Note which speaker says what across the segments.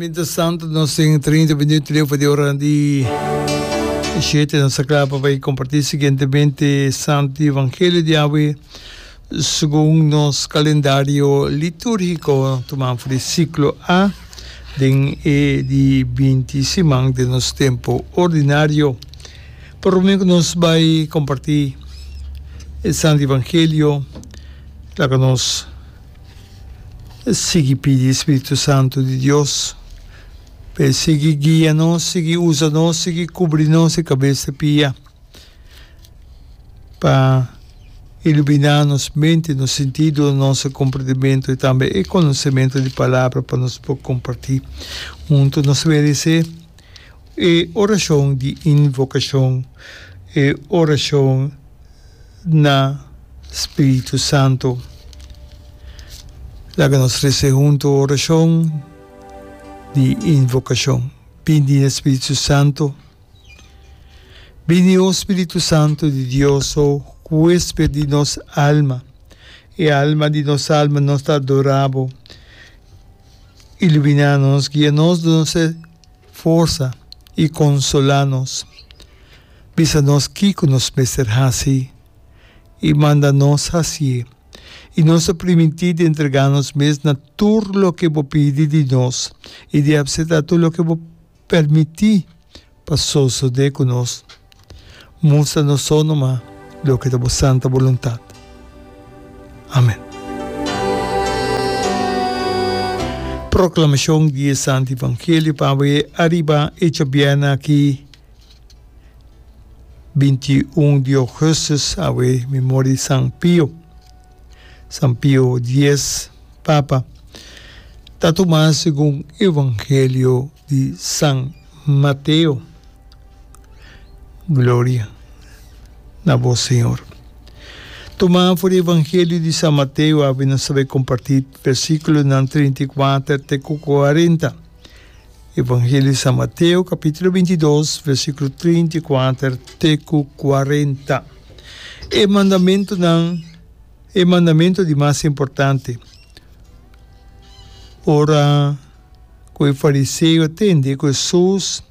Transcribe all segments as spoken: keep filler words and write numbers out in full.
Speaker 1: Mientras tanto nos tin trinta minuut leu for di ora di shete. Nos ta kla pa bai kompartí siguientemente Santo Evangelio di awe segun nos kalendario litúrgiko tumá for di siklo A den e di binti siman den nos tempu ordinario. Promé ku nos bai kompartí e Santo Evangelio, laga nos sigui pidi Spiritu Santu di Dios pa e sigui guia nos, sigui usa nos, sigui kubri nos di kabes te pia, pa iluminá nos mente, nos sentido, nos komprendimentu i tambe e konosementu di Palabra pa nos por kompartí huntu. Nos meresé e orashon di invokashon, e orashon na Spiritu Santu. Laga nos resa huntu orashon di invokashon. Bini na Spiritu Santu. Bini, o Spiritu Santu di Dios, o huésped di nos alma. E alma di nos alma nos ta adorá bo. Iluminá nos, guia nos, duna nos e forsa i konsolá nos. Bisa nos kiko nos mester hasi i manda nos hasié. I nos ta primintí di entregá nos mes na tur loke bo pidi di nos i di apseptá tur loke bo permití pa sosodé ku nos. Mustra nos so numa loke ta bo santa boluntat. Amen. Proklamashon di e Santu Evangelio pa awe ariba e djabièrnè aki binti i un di ougùstùs, awe memoria di San Pio. San Pio dies, Papa, ta tumá segun Evangelio di San Mateo. Gloria na bo, Señor. Tumá for di Evangelio di San Mateo, awe nos ta bai kompartí versíkulonan trinta i kuater te ku kuarenta. Evangelio di San Mateo, kapítulo binti i dos, versíkulo trinta i kuater te ku kuarenta. E mandamentunan, e mandamentu di mas importante. Ora ku e fariseo a tende ku Hesus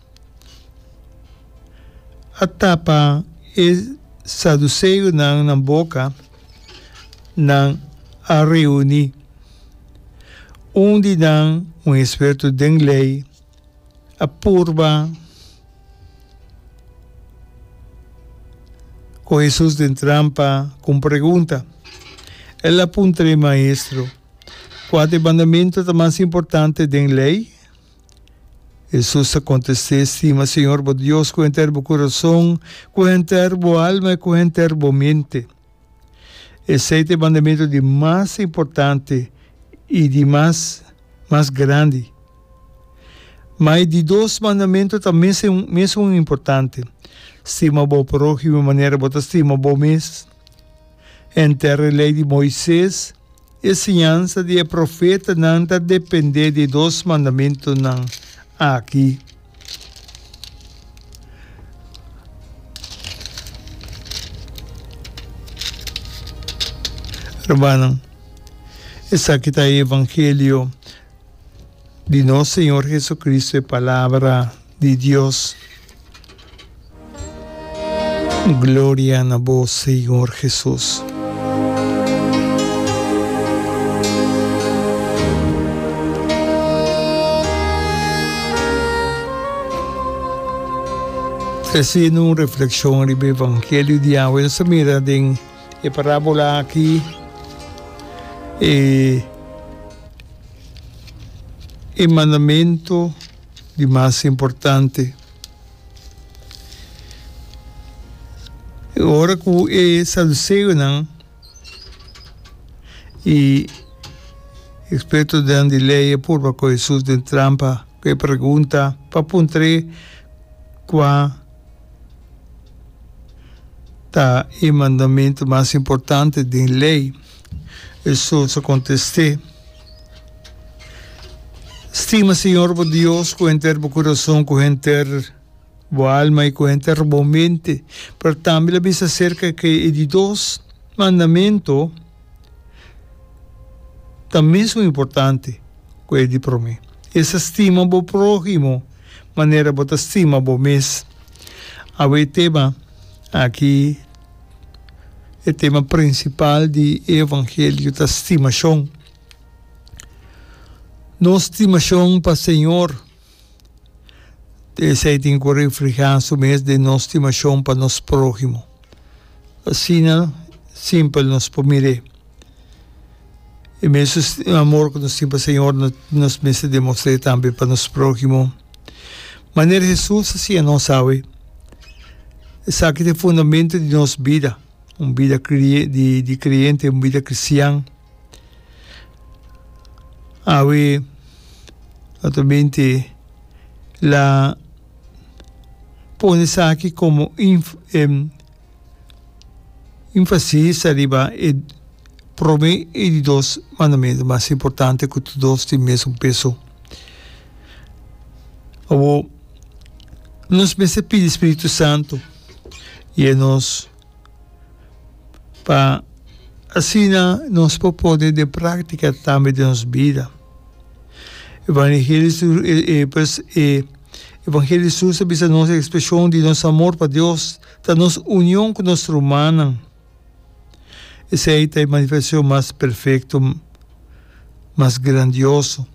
Speaker 1: a tapa e saduseonan nan boka, nan a reuní. Un di nan, un eksperto den lei, a purba ku Hesus den trampa ku un pregunta. El a puntra e maestro, Kua ta e mandamentu ta mas importante den lei? Hesus a kontest'é, Stima Señor bo Dios ku henter bo kurason, ku henter bo alma i ku henter bo mente. Esei ta e mandamentu di mas importante i di mas mas grandi. Ma e di dos mandamentu ta mesun mesun importante, Stima bo próhimo manera bo ta stima bo mes. Henter e Lei di Moises E siñansa di e profetanan ta dependé di e dos mandamentunan aki. Rumannan, esaki ta e evangelio di nos Señor Jesucristo, e Palabra di Dios. Gloria na bo, Señor Jesus. Tresiendo un reflexion riba evangelio di awe, nos ta mira den e parabola aki e e mandamento di mas importante. Ora ku e saduseonan i ekspertonan di lei a purba ku Hesus den trampa ku e pregunta pa puntr'é kua ta e mandamentu mas importante den lei, Hesus a kontest'é, Stima Señor bo Dios ku henter bo kurason, ku henter bo alma i ku henter bo mente. Pero tambe el a bisa aserka ke e di dos mandamentu ta mesun importante ku e di promé. Esta stima bo próhimo manera bo ta stima bo mes. Awe e tema aki, e tema prinsipal di e evangelio ta stimashon. Nos stimashon pa Señor, esei tin ku reflehá su mes den nos stimashon pa nos próhimo. Asina simpel nos por mir'é. E mesun amor ku nos tin pa Señor, nos mester demostr'é tambe pa nos próhimo. Manera Hesus a siña nos awe, esaki ta e fundamento di nos bida, un bida di kreyente, un bida kristian. Awe, naturalmente, la pone esaki komo Énfasis ariba e promé i di dos mandamentu mas importante ku tur dos tin mesun peso. Awor, nos mester pidi Spiritu Santu yia nos pa asina nos por pone den práktika tambe den nos bida. E Evangelio di Jesus ta bisa nos e ekspreshon di nos amor pa Dios ta nos union ku nos rumannan. Esei ta e manifestashon mas perfekto, mas grandioso.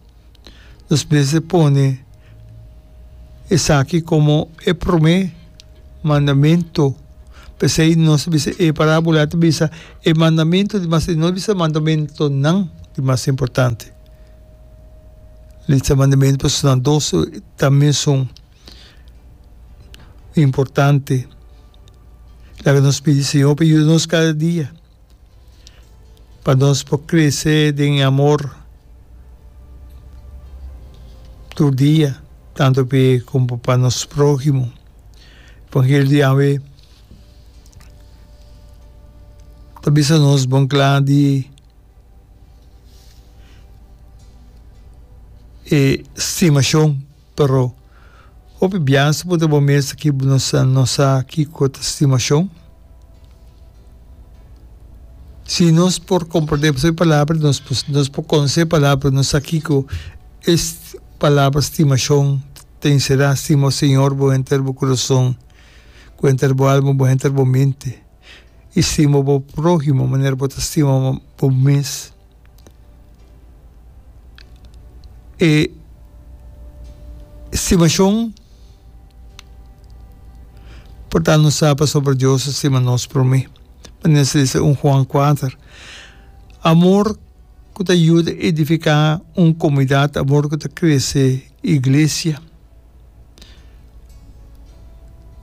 Speaker 1: Nos mester pone esaki komo e promé mandamentu. P'esei nos ta bisa e parábola ta bisa e mandamentu di mas, no ta bisa mandamentunan di mas importante. Lista mandamentu pasobra nan dos ta mesun. Importante. Laga nos pidi Señor pa yuda nos kada dia pa nos por crece den e amor tur dia, tanto p'e como pa nos próhimo. Evangelio di awe ta bisa nos bon kla di e stimacion. Pero, hopi bias bo ta bo mes aki bo no sa no sa kiko ta stimashon. Si nos por komprendé pasobra e palabra nos por nos por konosé e palabra pero no sa kiko e palabra stimashon ta enserá. Stima Señor bo henter bo kurason, ku henter bo alma, bo henter bo mente i stima bo próhimo manera bo ta stima bo mes. E stimashon por ta nos sa pasobra Dios a stima nos promé. Manera sa bisa un Juan kuater. Amor ku ta yuda edifiká un komunidat, amor ku ta krese iglesia,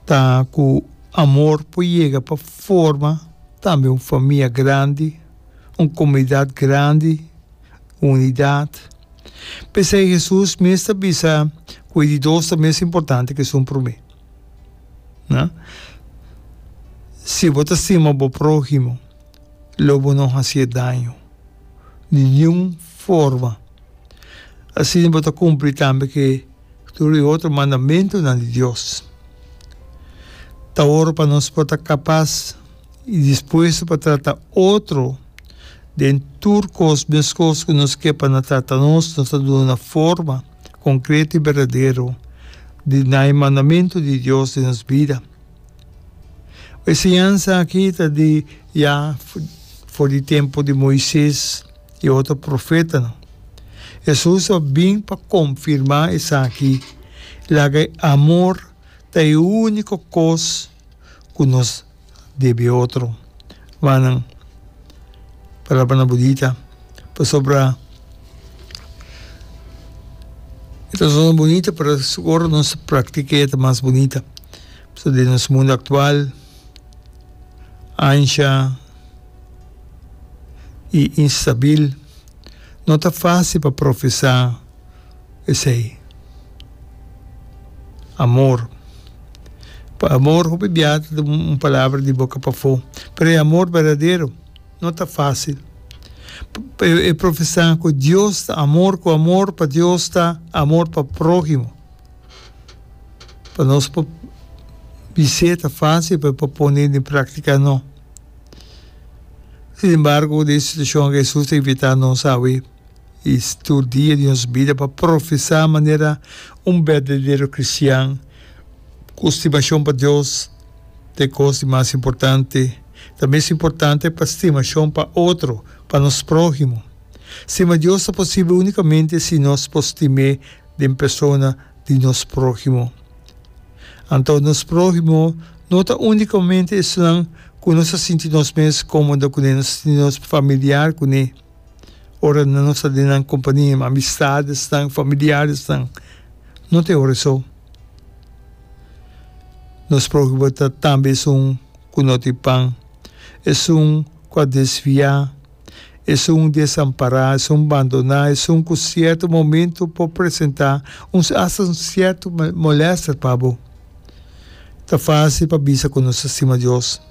Speaker 1: ta ku amor por yega pa forma tambe un famia grandi. Un komunidat grandi, unidat. P'esei Hesus mes ta bisa ku e di dos ta mes importante ku esun promé. Na? Si bo ta stima bo próhimo, lo bo no hasié daño di niun forma. Asina bo ta kumpli tambe ku e tur e otro mandamentunan di Dios. Ta ora pa nos por ta kapas. I dispuesto pa trata otro den tur kos meskos ku nos ke pa nan trata nos, nos ta duna forma konkreto i berdadero di na e mandamentu di Dios den nos bida. E siñansa aki ta di ya for di tempu di Moises i otro profetanan. Hesus a bin pa konfirmá esaki, laga e amor ta e úniko kos ku nos debe otro. Rumannan, palabranan bunita, pasobra e ta sona bunita, pero ora nos praktik'é e ta mas bunita. Pasobra den nos mundu aktual, ansha i instabil, no ta fásil pa profesá esei. Amor. Pa amor hopi bia ta un palabra di boca pafó, pero e amor berdadero no ta fácil. E profesá cu Dios ta amor, cu amor pa Dios ta amor pa próhimo. Pa nos por bis'é ta fácil, pero pa pon'é den práctica no. Sin embargo, den e situacion aki Jesús ta invitá nos awe. I tur dia di nos bida pa profesá manera un berdadero kristian ku stimashon pa Dios ta e kos di mas importante. Ta mes importante pa stimashon pa otro, pa nos próhimo. Stima Dios ta posibel únikamente si nos por stim'é den persona di nos próhimo. Anto nos próhimo no ta únikamente esnan ku nos ta sinti nos mes kómodo kuné, nos ta sinti nos familiar kuné. Ora nos ta den nan kompania, amistadesnan, familiaresnan, no ta e ora esou. Nos próhimo ta tambe esun ku no tin pan, esun ku a desviá, esun desampará, esun bandoná, esun ku sierto momento por presentá un asta un sierto molèster pa bo. Ta fásil pa bisa ku nos ta stima Dios.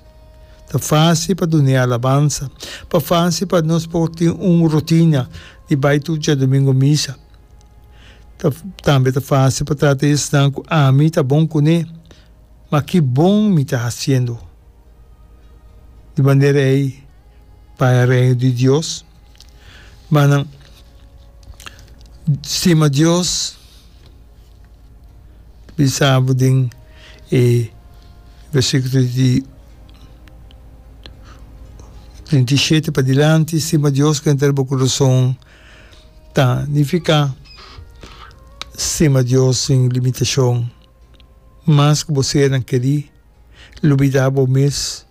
Speaker 1: Ta fásil pa dun'é alabansa. Pa fásil pa nos por tin un rutina di bai tur djadumingu misa. Ta tambe ta fásil pa trata esnan ku ami ta bon kuné, ma ki bon mi ta hasiendo di manera ei pa e Reino di Dios? Manan stima Dios. Bisa bo den e versíkulo di trinta i shete padilanti, stima Dios ku henter bo kurason ta nifiká stima Dios sin limitashon. Mas ku bo sernan kerí, lubidá bo mes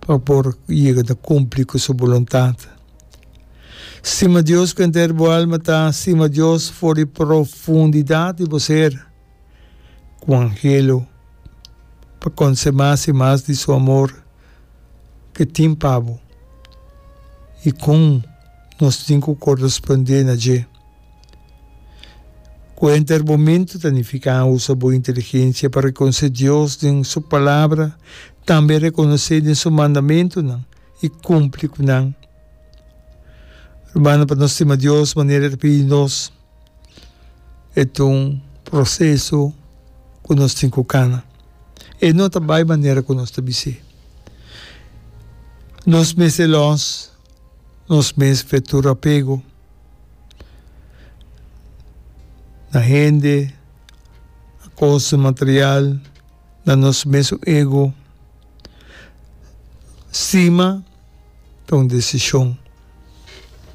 Speaker 1: pa por yega na kumpli ku su boluntat. Stima Dios ku henter bo alma ta stima Dios for di profundidat di bo ser, ku anhelo pa konosé mas i mas di su amor ku e tin pa bo i kon nos tin ku korespondé na dje. Ku henter bo mente ta nifiká usa bo inteligensia pa rekonosé Dios den su Palabra, tambe rekonosé den su mandamentunan i kumpli ku nan. Rumannan, pa nos stima Dios manera e ta pidi nos, e ta un proseso ku nos tin ku kana. E no ta bai manera ku nos ta bis'é. Nos mester lòs nos mes fe tur apego na hende, na kosnan material, na nos mesun ego. Stima ta un desishon.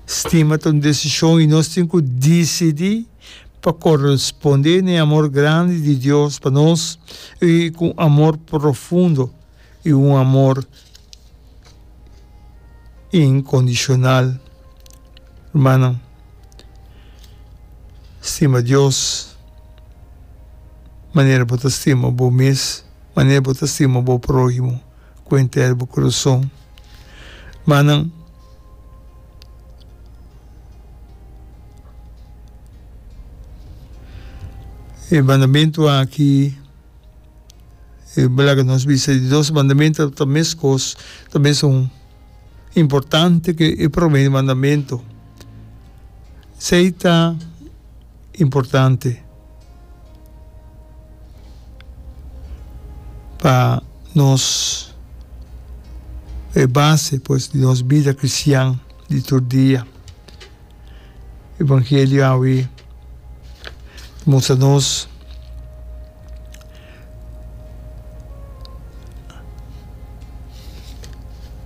Speaker 1: Stima ta un desishon i nos tin ku disidí pa korespondé na e amor grandi di Dios pa nos i ku un amor profundo i un amor inkondishonal. Rumannan, stima Dios manera bo ta stima bo mes, manera bo ta stima bo próhimo ku henter bo kurason. Rumannan, e mandamentu aki. E laga nos bisa di dos mandamentu ta meskos, ta mesun importante ke e prome mandamentu. Esei ta importante pa nos, e base pues di nos bida kristian di tur dia. Evangelio awe ta mustra nos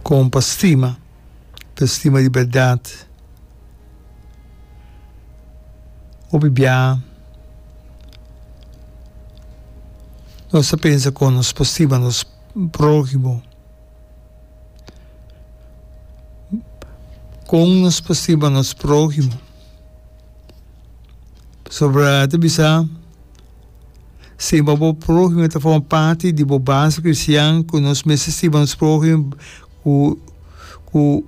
Speaker 1: kon pa stima, pa stima di bèrdat. Hopi bia nos ta pensa kon nos por stima nos próhimo. Kon nos por stima nos próhimo? Pasobra ta bisa, Stima bo próhimo ta forma parti di bo base kristian ku nos mester stima nos próhimo ku ku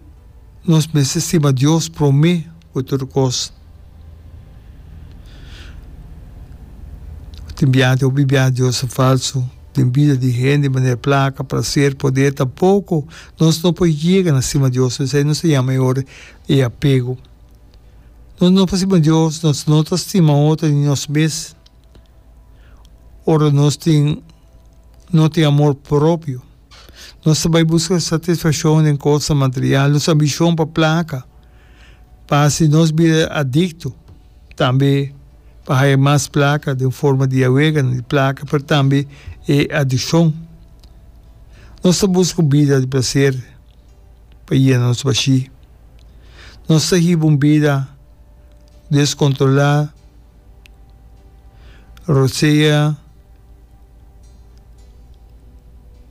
Speaker 1: nos mester stima Dios promé ku tur kos. Tin biaha tin hopi biaha Dios ta falsu den bida di hende manera plaka, plaser, poder tampoko nos no por yega na stima Dios esei nos ta yama e ora e apego. Nos no por stima Dios, nos no ta stima otro ni nos mes ora nos tin no tin amor propio. Nos ta bai buska satisfakshon den kosnan material, nos ambishon pa plaka. Pa hasi nos bira adikto, tambe pa haya mas plaka den forma di aweganan di plaka, pero tambe e adikshon. Nos ta buska un bida di plaser pa yena nos bashí. Nos ta hiba un bida deskontrolá, rosea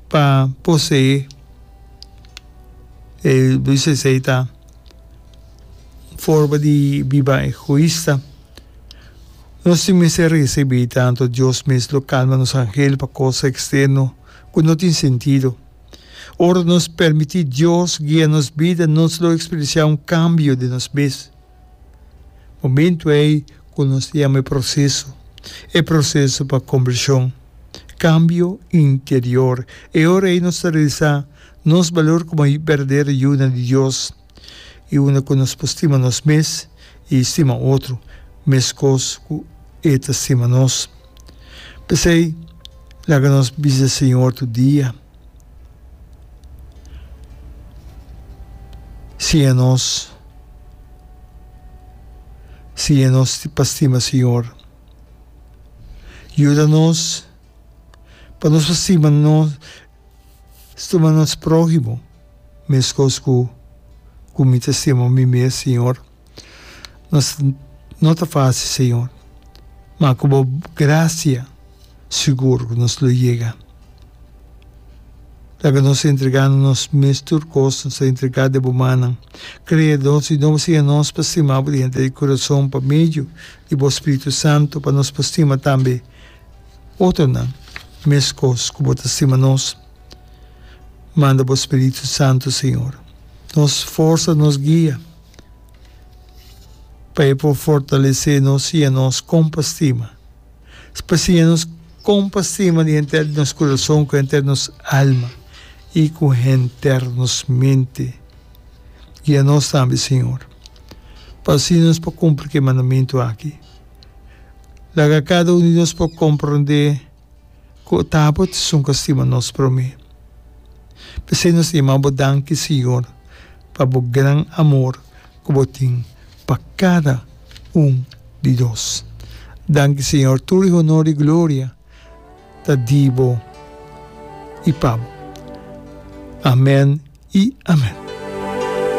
Speaker 1: pa poseé. E bisa esei ta un forma di biba egoista. Nos tin mester risibí tantu Dios mes lo kalma nos angel pa kos eksterno ku no tin sentido. Ora nos permití Dios guia nos bida, nos lo eksperensiá un kambio den nos mes. Momentu ei ku nos ta yama e proseso, e proseso pa kombershon, kambio interior. E ora ei nos ta realisá nos balor komo berdadero yunan di Dios i unda ku nos por stima nos mes i stima otro meskos ku E ta stima nos. P'esei, laga nos bisa Señor tur dia, Siña nos, siña nos pa stima Señor. Yuda nos pa nos por stima nos, stima nos próhimo meskos ku ku mi ta stima mi mes, Señor. Nos no ta fásil, Señor, ma ku bo grasia sigur ku nos lo yega. Laga nos entregá nos mes tur kos, nos ta entregá den bo mannan. Krea nos i no siña nos pa stima bo di henter di kurason pa medio di bo Spiritu Santu, pa nos por stima tambe otronan meskos ku bo ta stima nos. Manda bo Spiritu Santu, Señor, nos forsa, nos guia, pa e por fortalesé nos, siña nos kon pa stima. Pa siña nos kon pa stima di henter di nos kurason, ku henter nos alma i ku henter nos mente. Guia nos tambe, Señor, pa asina nos por kumpli ku e mandamentu aki. Laga kada un di nos por komprondé ku ta bo ta esun ku a stima nos promé. P'esei nos ta yama bo danki, Señor, pa bo gran amor ku bo tin pa kada un di nos. Danki Señor, tur e honor i gloria ta di bo i pa bo. Amen i amen.